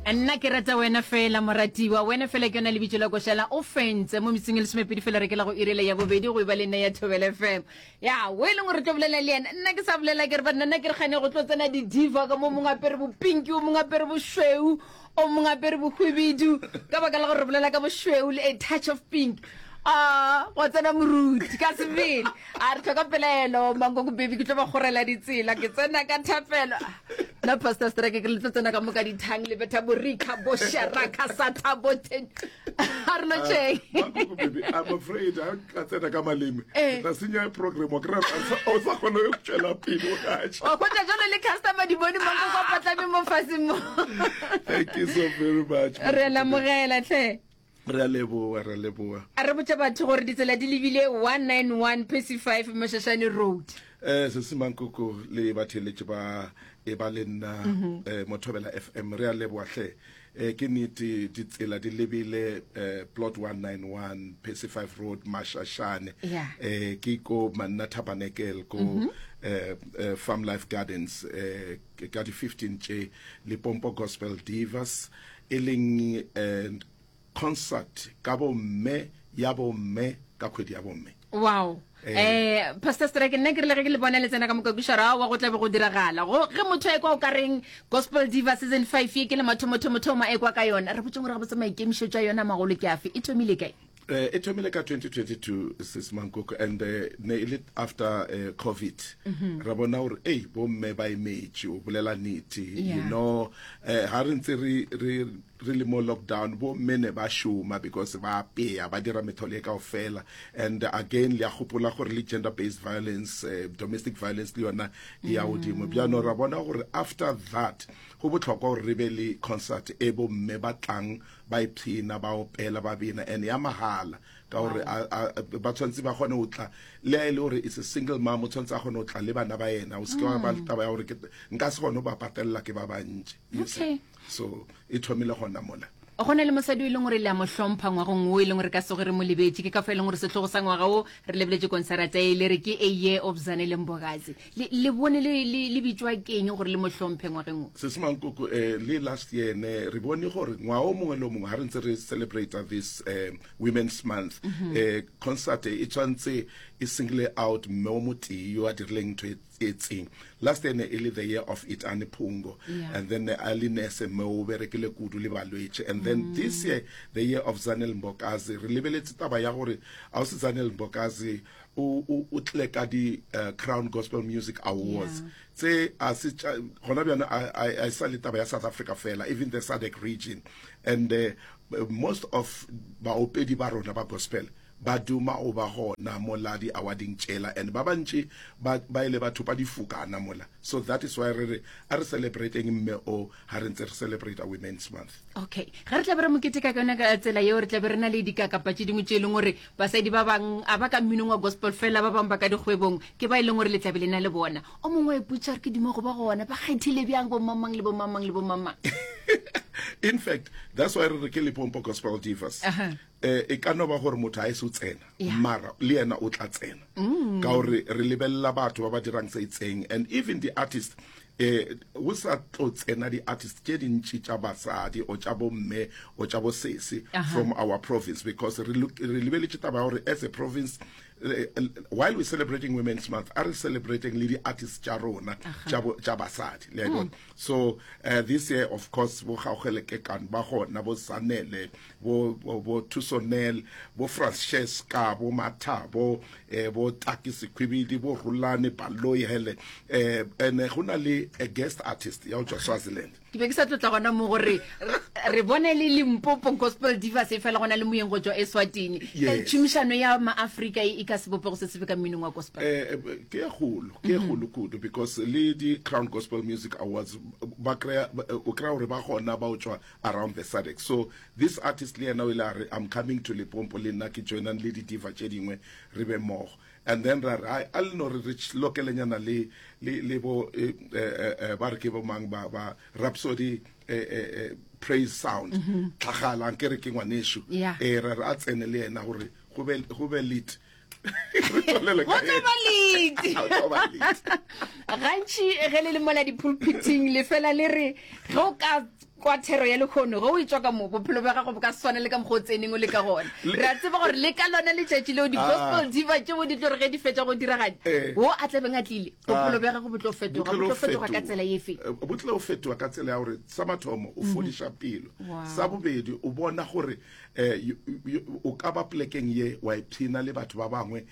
Nna ke rata wena fela moratiwa, wena fela ke yona lebitso la košala o fentse mo metsing e lesomepedi fela re ke la go irela ya bobedi go e ba le nna ya Thobela FM. Ya, o e leng gore tlo bolela le yena, nna ke sa bolela ke re banna nna ke re gane go tlo tsena di-diva ka mo mongwe apere bopinki, o mongwe apere bošweu, o mongwe apere bohwibidu, ka baka la gore re bolela ka bošweu le a touch of pink. A gwa tsena moruti ka sebele a re tlhoka pelaelo mankoko baby ke tlo ba kgorela ditsela ke tsena ka thapelo nna pastor strike ke le tlo tsena ka moka dithang le betha borika bo sharaka satha bo ten a re lotšheng Mankoko baby I'm afraid ha ka tsena ka maleme Eh. ke tla senya program wa kry o sa kgone go tšwela pele o gaša wa hwetša jalo le customer di bone mankoko a patlame mo faseng mo thank you so very much re a lamogela tlhe Re a leboa, re a leboa. A re botša batho gore ditsela di lebile 191 Percy 5 Mošašane Road. Eh, Sesi Mankoko le batheeletši ba e ba le nna eh, mo Thobela FM re a leboa hle. Eh, ke nete ditsela di lebile eh, plot 191 Percy 5 Road Mashashane. Yeah. Eh, ke ko Manna Tabernacle ko eh, eh, Farm Life Gardens eh, ka di 15 tše Limpopo Gospel Divas e leng eh, concert ka bomme ya bomme ka kgwedi ya bomme. Wow. Eh, Pastor Strike nna ke rile ge ke le bona le tsena ka mokakušara wa go tlabe go diragala go ge motho a ekwa o ka reng Gospel Diva season 5 ye ke le mathomothomothoma a ekwa ka yona re botse gore ga botse maikemišetšo a yona magolo ke afe e thomile kae Eh, e thomile ka 2022 sis Mankoko and eh, ne e le after eh, covid ra bona gore ei bomme ba emetše o bolela nnete you Yeah. know eh, ha re ntse re re re le mo lockdown bomme ne ba šoma because ba apea ba dira metholo e kaofela and again le a gopola gore le gender based violence eh, domestic violence le yona e ya godimo bjano ra bona gore after that go bohlokwa gore re be le concert e bomme ba tlang ba ipshina ba opela ba bina and ya mahala ka gore ba tshwanetse ba kgone go tla le a e le gore it's a single mom o tshwanetse a kgone go tla le bana ba yena o seke wa ba le taba ya gore nka se kgone go ba patelela ke ba bantši you see. Okay. So e thomile gona mola. Go na le mosadi o e leng gore le a mo hlompha ngwagong wo e leng gore ka soge re mo lebetše. Ke ka fao e leng gore sehlogo sa ngwaga wo re lebeletše konsarata e le re ke A Year of Zanele Mbokazi. Le, le bone le, le, le bitšwa keng gore le mo hlomphe ngwageng wo? Sesi Mankoko, eh, le last year ne re bone gore ngwaga o mongwe le o mongwe ha re ntse re celebrate this eh, Women's Month, eh, concert e tshwanetse e single out mme o motee yo a dirileng ntho e etseng. Last year ne e le the year of Itani Phungo, Yeah. and then ne a le nurse mme o berekile kudu le balwetši. And then this year, the year of Zanele Mbokazi, re lebeletse taba ya gore ausi Zanele Mbokazi o o o tlile ka di uh, Crown Gospel Music Awards Yeah. tse a se tša gona bjana a a- a sa le taba ya South Africa fela even the SADC region and uh, most of baopedi ba rona ba gospel ba duma go ba gona mola di awarding tšela and ba bantši ba ba ile ba thopa difokana mola so that is why re re a re celebrating mme o ha re ntse re celebrate Women's Month. Okay ge re tla be re mo keteka ka yona ka tsela yeo re tla be re na le dikakapa tše dingwe tše e leng gore Basadi ba bang a ba ka mminong wa gospel fela, ba bang ba ka dikgwebong, ke ba e leng gore le tla be le na le bona. O mongwe wa ipotša gore ke duma go ba gona, ba kgethile bjang bo mang-mang le bo mang-mang le bo mang-mang. In fact, that's why re re ke Limpopo Gospel Divas. Eh, e ka no ba gore motho a e se o tsena, Yeah. mara le yena o tla tsena. Ka gore re lebelela batho ba ba dirang se itseng and even the artist eh go sa tlo tsena di-artist tše dintši tša basadi o tša bomme o tša bosese from our province because re re lebeletše taba ya gore as a province eh, while we're celebrating women's month a re celebrating le di-artist tša rona tša basadi le a bona so uh, this year of course bo Kgaogelo Kekane ba gona bo Sanele bo bo, bo Thusonel bo Francesca bo Mathabo eh, bo Taki Sekhwibidi bo Rulane Baloyi hele eh, and go na le a guest artist ya go tšwa Swaziland Ke be ke sa tlotla gona mo gore re bone le Limpopo Gospel Divas e fela gona le moyeng go tšwa Eswatini. Yes. Eh, Tšhomišano ya maAfrika e e ka sebopego se sefe ka mminong wa gospel? Eh, ke e kgolo ke e kgolo kudu because le di Crown Gospel Music Awards ba kry-a o kry-a gore ba gona ba o tšwa around the SADC so this artist le yena o ile a re I'm coming to Limpopo le nna ke joinang le di-diva tše dingwe re be mmogo and then ra re ai a le no re re lokelenyana le le le bo eh, eh, eh, ba re ke bo mang ba ba Rhapsody eh, eh, eh, praise sound tlhagala nke re ke ngwanešu Yeah. eh ra re a tsene le yena gore go be go be lit re tswalele Go ka tlo ba lit. Go tlo ba lit. Gantši ge le le mola dipulpiting le fela le re ge o ka Kwa thero ya lehono, ge o etšwa ka mo, bophelo bja gago bo ka se swane le ka mokgwa o tseneng o le ka gona. Re a tseba gore le ka lona letšatši leo di-gospel diva tšeo di tlo re ge di fetša go diragatša, wo a tla beng a tlile, bophelo bja gago bo tlo fetoga. Bo tlo fetoga ka tsela efe? Bo tlo fetoga ka tsela ya gore sa mathomo o fodiša pelo. Sa bobedi o bona gore o ka ba polekeng ye wa ipshina le batho ba bangwe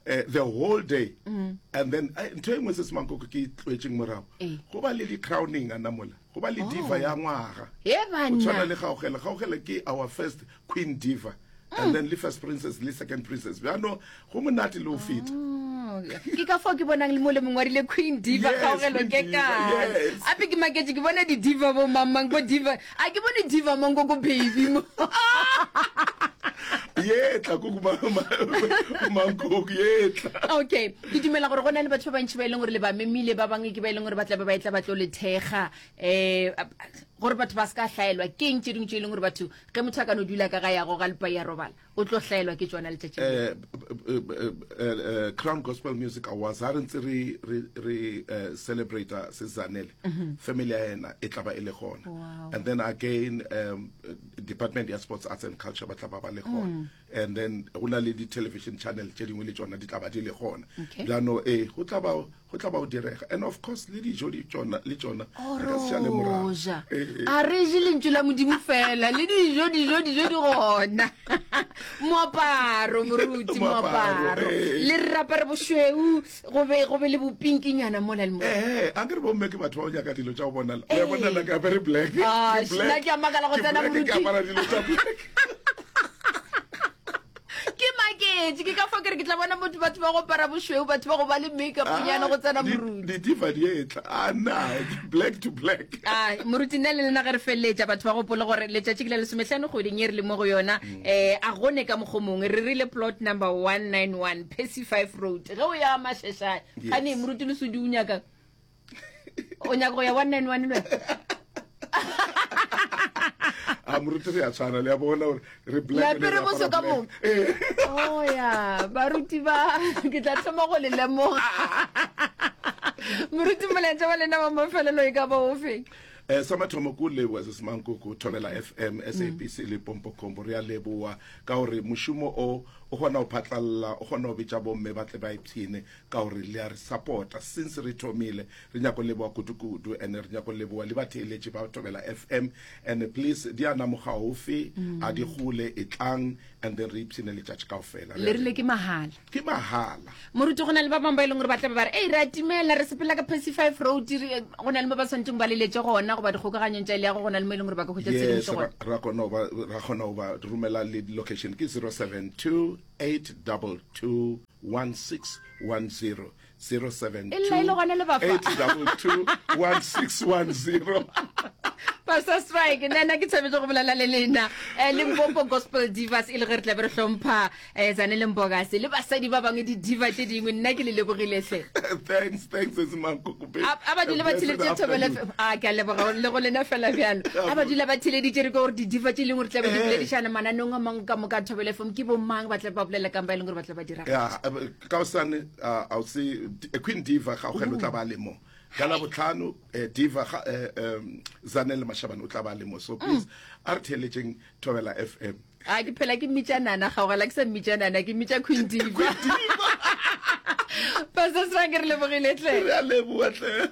the whole day. And then ntho e nngwe se se mankoko ke e tloetšeng morago, go ba le di-crowning ana mola. Go ba le diva ya ngwaga. He banna. Go tshwana le Kgaogelo. Kgaogelo ke our first queen diva. And then le first princess le second princess. Bjano go monate le go feta. Oh, ke ka fao ke bonang le mo le mongwe wa rile queen diva Kgaogelo ke kae. Ape ke maketše ke bona di diva bo mang mang bo diva. A ke bone diva Mankoko baby mo. Yetla koko Mankoko yetla. Okay. Ke dumela gore go na le batho ba bantši ba e leng gore le ba memile, ba bangwe ke ba e leng gore ba tla be ba etla ba tlo le thekga, um gore batho ba se ka hlaelwa. Ke eng tše dingwe tše e leng gore batho, ge motho a ka no dula ka gae a goga lepai a robala, o tlo hlaelwa ke tšona letšatši le? Crown Gospel Music Awards, ha re ntse re, re, re celebrata se Zanele, family ya yena e tla ba e le gona. And then again, Department ya Sports, Arts and Culture ba tla ba ba le gona. And then go na le di-television channel tše dingwe le tšona di tla ba di le gona. Bjano ee, go tla ba go tla ba go direga. And of course le dijo di tšona le tšona re ka se šale morago. Roja. A re je lentšu la Modimo fela, le dijo dijo dijo di gona. Moaparo moruti, moaparo. Le re apare bošweu, go be go be le bopinkinyana mola le mola. Ee, a ke re bomme ke batho ba go nyaka dilo tša go bonala. O ya bona nna ke apere black. Ah, nna ke a makala go tsena moruti. Ke apara dilo tša black. Ke maketše, ke ka fao ke re ke tla bona motho batho ba go apara bošweu, batho ba go ba le makeup nyana go tsena moruti. Di-diva di etla. Ah, na, black to black. Ah, moruti nna le lena ge re feleletša batho ba gopole gore letšatši ke la lesomehlano kgweding ye re le mo go yona. Eh, a gone ka mokgo mongwe re rile plot number 191 Percy 5 Road. Ge o ya Masheshane, gane moruti Lesodi o nyaka o nyaka go ya 191 le wena? A moruti re a tshwana le a bona gore re black. Le apere boso ka moka. Oh ya, baruti ba ke tla thoma go le lemoga. Moruti molaetša wa lena wa mafelelo e ka ba ofe? Eh, sa mathomo ko leboa se semankoko Thobela FM, SABC le Pompo Combo. Re a leboa ka gore mošomo o o kgona go phatlalla, o kgona go bitša bomme ba tle ba ipshine ka gore le a re support-a since re thomile. Re nyako leboa kudu-kudu and re nyako leboa le batheeletši ba Thobela FM and please di a na mogaufi, a di gole, etlang and then re ipshine letšatši kaofela. Le rile ke mahala. Ke mahala. Moruti, go na le ba bangwe ba e leng gore ba tla be ba re, Ei, re a timela, re sepela ka Percy Fife Road, re, go na le mo ba swanetšeng ba leletše gona, goba dikgokaganyong tša leago, go na le mo e leng gore ba ka hwetša Yes, tshedimošo gona. ra, ra kgona go ba, ra kgona go ba romela le location ke 072 822 1610. 072 E lla e le gona le ba fa. 822 1610. Pastor Strike, nna nna ke thabetse go bolela le lena. Eh, Limpopo Gospel Divas e le ge re tla be re hlompha eh, Zanele Mpokase le basadi ba bangwe di-diva tše dingwe. Nna ke le lebogile hle. Thanks, thanks, Sesi Mankoko, babe. A a ba dule ba Blessed theleditše Thobela afternoon. FM. A ke a leboga le go lena fela bjalo. A ba dula ba theleditše re ke gore di-diva tše e leng gore tla be di Eh. boledišana mananeong a mangwe ka moka a Thobela FM ke bo mang ba tla be ba bolela kang ba e leng gore ba tla ba dira. Ya, eh, ka hosane, ah, a o se, eh, Queen Diva Kgaogelo o tla ba le mo. Ka Labohlano, eh, Diva ga, eh, um, Zanele Mashabane o tla ba le mo. So please, a re theeletšeng Thobela FM. A ke phela ke mmitša Nana Kgaogela, ke sa mmitša Nana, ke mmitša Queen Diva. Pastor Sranke, re lebogile hle. Re a leboga hle.